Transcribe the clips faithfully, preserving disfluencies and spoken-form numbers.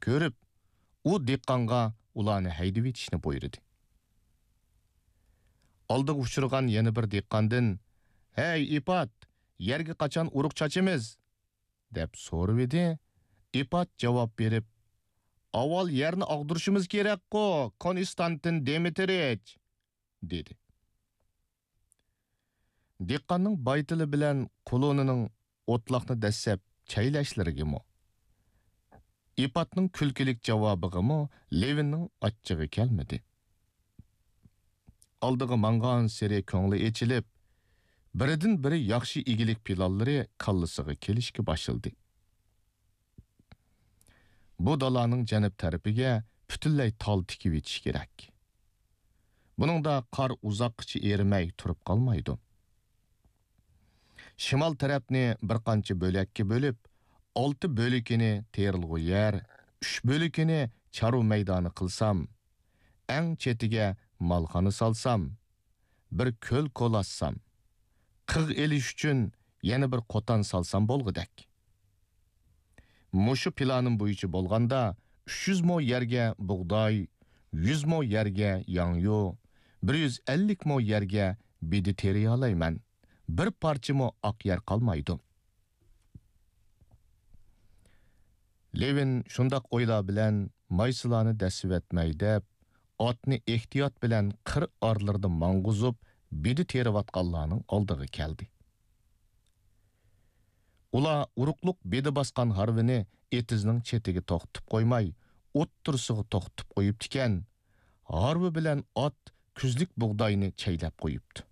كۆرۈپ، ئۇ دېھقانغا ئۇلارنى ھەيدىۋېتىشنى بۇيرۇدى. ئالدىغا ئۇچرىغان يەنە بىر دېھقاندىن، «ھەي، ئىپات، يەرگە قاچان ئۇرۇق چاچىمىز؟» دەپ سورىۋىدى. ئىپات جاۋاب بېرىپ، «ئاۋۋال يەرنى ئاغدۇرۇشىمىز كېرەكقۇ، كونستانتىن دېمىترىچ!» دېدى. دېھقاننىڭ بايتىلى بىلەن قۇلۇنىنىڭ ئوتلاقنى دەسسەپ چەيلەشلىرىگىمۇ، ئىپاتنىڭ كۈلكىلىك جاۋابىغىمۇ لېۋىننىڭ ئاچچىقى كەلمىدى. ئالدىغا ماڭغانسېرى كۆڭلى ئېچىلىپ، بىرىدىن بىرى ياخشى ئىگىلىك پىلانلىرى كاللىسىغا كېلىشكە باشلىدى. بۇ دالانىڭ جەنۇب تەرىپىگە پۈتۈنلەي تال تىكىۋېتىش كېرەك. بۇنىڭدا قار ئۇزاققىچە ئېرىمەي تۇرۇپ قالمايدۇ. شىمال تەرەپنى بىر قانچە بۆلەككە بۆلۈپ، ئالتە بۆلىكىنى تېرىلغۇ يەر، ئۈچ بۆلىكىنى چارۋا مەيدانى قىلسام، ئەڭ چېتىگە مالخانا سالسام، بىر كۆل كولاسسام، قىغ ئېلىش ئۈچۈن يەنە بىر قوتان سالسام بولغۇدەك. مۇشۇ پىلانىم بويىچە بولغاندا، ئۈچ يۈز مو يەرگە بۇغداي، يۈز مو يەرگە ياڭيۇ، بىر يۈز ئەللىك مو يەرگە بىدە تېرىيالايمەن. بىر پارچىمۇ ئاق يەر قالمايدۇ. لېۋىن شۇنداق ئويلار بىلەن مايسىلارنى دەسسىۋەتمەي دەپ، ئاتنى ئېھتىيات بىلەن قىر ئارىلىرىدا ماڭغۇزۇپ، بىدە تېرىۋاتقانلارنىڭ ئالدىغا كەلدى. ئۇلار ئۇرۇقلۇق بىدە باسقان ھارۋىنى ئېتىزنىڭ چېتىگە توختىتىپ قويماي، ئوتتۇرىسىغا توختىتىپ قويۇپتىكەن. ھارۋا بىلەن ئات كۈزلۈك بۇغداينى چەيلەپ قويۇپتۇ.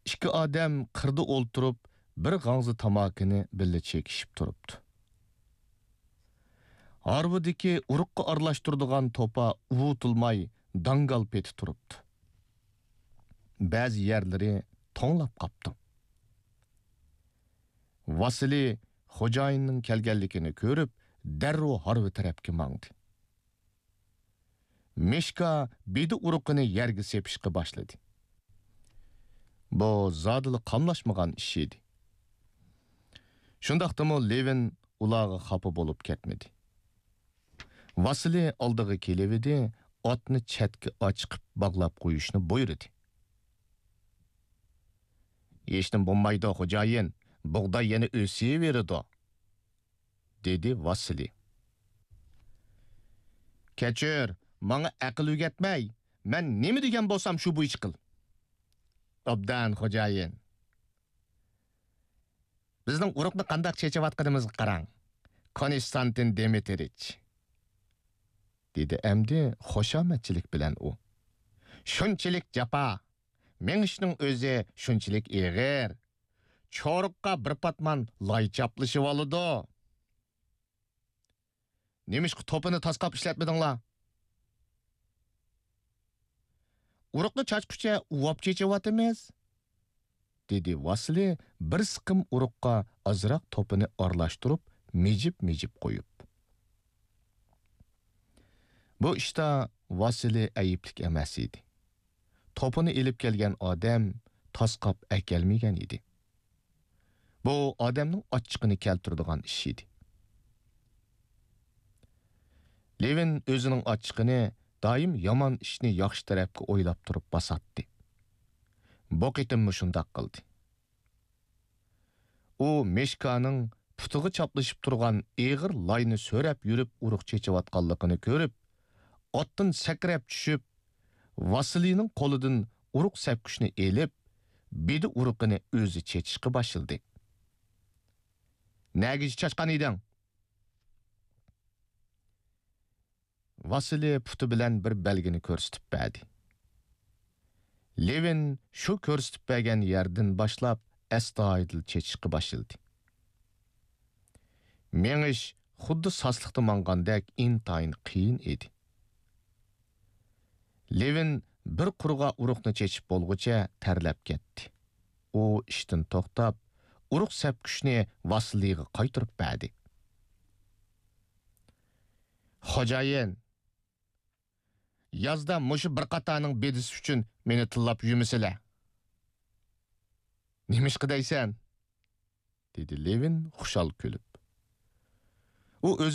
ئىككى ئادەم قىردا ئولتۇرۇپ، بىر غاڭزا تاماكىنى بىللە چېكىشىپ تۇرۇپتۇ. ھارۋىدىكى ئۇرۇققا ئارىلاشتۇرىدىغان توپا ئۇۋۇتۇلماي داڭگال پېتى تۇرۇپتۇ. بەزى يەرلىرى توڭلاپ قاپتۇ. ۋاسىلىي خوجايىننىڭ كەلگەنلىكىنى كۆرۈپ، دەررۇ ھارۋا تەرەپكە ماڭدى. مىشكا بىدە ئۇرۇقىنى يەرگە سېپىشقا باشلىدى. بۇ زادىلا قاملاشمىغان ئىش ئىدى. شۇنداقتىمۇ لېۋىن ئۇلارغا خاپا بولۇپ كەتمىدى. ۋاسىلىي ئالدىغا كېلىۋىدى، ئاتنى چەتكە ئاچىقىپ باغلاپ قويۇشنى بۇيرۇدى. «ھېچنېمە بولمايدۇ، خوجايىن، بۇغداي يەنە ئۆسۈۋېرىدۇ.» دېدى ۋاسىلىي. «كەچۈر، ماڭا ئەقىل ئۆگەتمەي، مەن نېمە دېگەن بولسام شۇ بويىچە قىل.» «ئوبدان، خوجايىن.» «بىزنىڭ ئۇرۇقنى قانداق چېچىۋاتقىنىمىزغا قاراڭ، كونستانتىن دېمىترىچ.» دېدى ئەمدى خۇشامەتچىلىك بىلەن ئۇ. «شۇنچىلىك جاپا، مېڭىشنىڭ ئۆزى شۇنچىلىك ئېغىر. چورۇققا بىر پاتمان لاي چاپلىشىۋالىدۇ.» «نېمىشقا توپىنى تاسقاپ ئىشلەتمىدىڭلار؟» «ئۇرۇقنى چاچقۇچە ئۇۋاپ چېچىۋاتىمىز.» دېدى ۋاسىلىي بىر سىقىم ئۇرۇققا ئازراق توپىنى ئارىلاشتۇرۇپ، مىجىپ-مىجىپ قويۇپ. بۇ ئىشتا ۋاسىلىي ئەيىبلىك ئەمەس ئىدى. توپىنى ئېلىپ كەلگەن ئادەم تاسقاپ ئەكەلمىگەن ئىدى. بۇ ئادەمنىڭ ئاچچىقىنى كەلتۈرىدىغان ئىش ئىدى. لېۋىن ئۆزىنىڭ ئاچچىقىنى دائىم يامان ئىشنى ياخشى تەرەپكە ئويلاپ تۇرۇپ باساتتى. بۇ قېتىممۇ شۇنداق قىلدى. ئۇ مىشكانىڭ پۇتىغا چاپلىشىپ تۇرغان ئېغىر لاينى سۆرەپ يۈرۈپ ئۇرۇق چېچىۋاتقانلىقىنى كۆرۈپ، ئاتتىن سەكرەپ چۈشۈپ، ۋاسىلىينىڭ قولىدىن ئۇرۇق سەپكۈچنى ئېلىپ، بىدە ئۇرۇقىنى ئۆزى چېچىشقا باشلىدى. «نەگىچە چاچقان ئىدىڭ؟» ۋاسىلىي پۇتى بىلەن بىر بەلگىنى كۆرسىتىپ بەردى. لېۋىن شۇ كۆرسىتىپ بەرگەن يەردىن باشلاپ ئەستايىدىل چېچىشقا باشلىدى. مېڭىش خۇددى ساسلىقتا ماڭغاندەك ئىنتايىن قىيىن ئىدى. لېۋىن بىر قۇرغا ئۇرۇقنى چېچىپ بولغۇچە تەرلەپ كەتتى. ئۇ ئىشتىن توختاپ، ئۇرۇق سەپكۈچنى ۋاسىلىيغا قايتۇرۇپ بەردى. «خوجايىن، يازدا مۇشۇ بىر قاتارنىڭ بىدىسى ئۈچۈن مېنى تىللاپ يۈرمىسىلە.» «نېمىشقا دەيسەن؟» دېدى لېۋىن خۇشال كۈلۈپ. ئۇ ئۆزىنىڭ